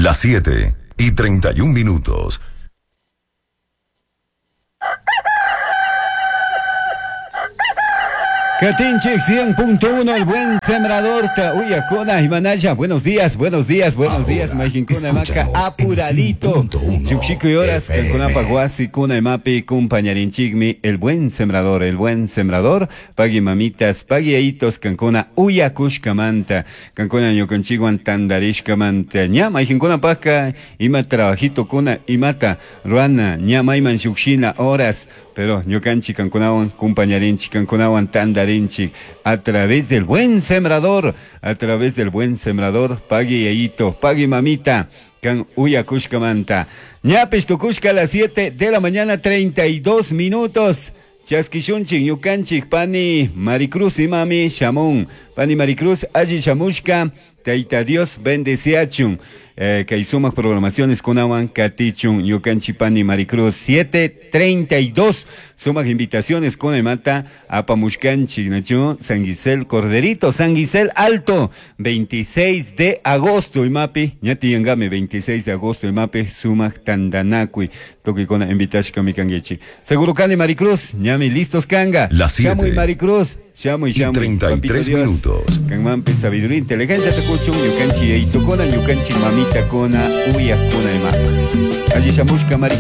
Las 7 y 31 minutos. Katinchik 100.1, el buen sembrador, Uyacona y Manaya. Buenos días, buenos días, buenos días. Majincuna Maca, apuradito. Yuxico y horas, Cancunapa, Guasi, Cuna y Mapi, compañarinchigmi, el buen sembrador, el buen sembrador. Pagui mamitas, pagui aitos, Cancuna, Uyacushcamanta, Cancuna ñukanchiguan tandarishkamanta. Ña, Majincuna Paca, ima trabajito cuna, imata, ruana, ña maiman yuxina, horas. Pero ñukanchik kankunawan kumpañarinchik kankunawan tandarinchik a través del buen sembrador, a través del buen sembrador, pagui yayito, pagui mamita, kan uyakushkamanta. Ñapish tukushka a las 7 de la mañana 32 minutos. Chaskishunchik ñukanchik pani Maricruz imami shamun. Pani Maricruz alli shamushka, Tayta Dios bendeciachun. Kay sumaq programaciones kunawan katichun ñukanchik pani Maricruz 7:32 sumaq invitaciones kunamanta apamushkanchik nachu San Gisel Corderito, San Gisel Alto, 26 de agosto imapi ña tiyangami 26 de agosto imapi sumaq tandanakuy tukuykuna invitashkami kankichik. Seguro kani Maricruz, ñami listos kanga. Las 7 Shamuy Maricruz, shamuy, y shamuy. 33 Papito Dios. minutos. Kanmanpi sabiduría, inteligencia tukuchun, ñukanchik yaytukuna, ñukanchik mamitakuna, uyakuna imapa. Alli shamushka Maricruz.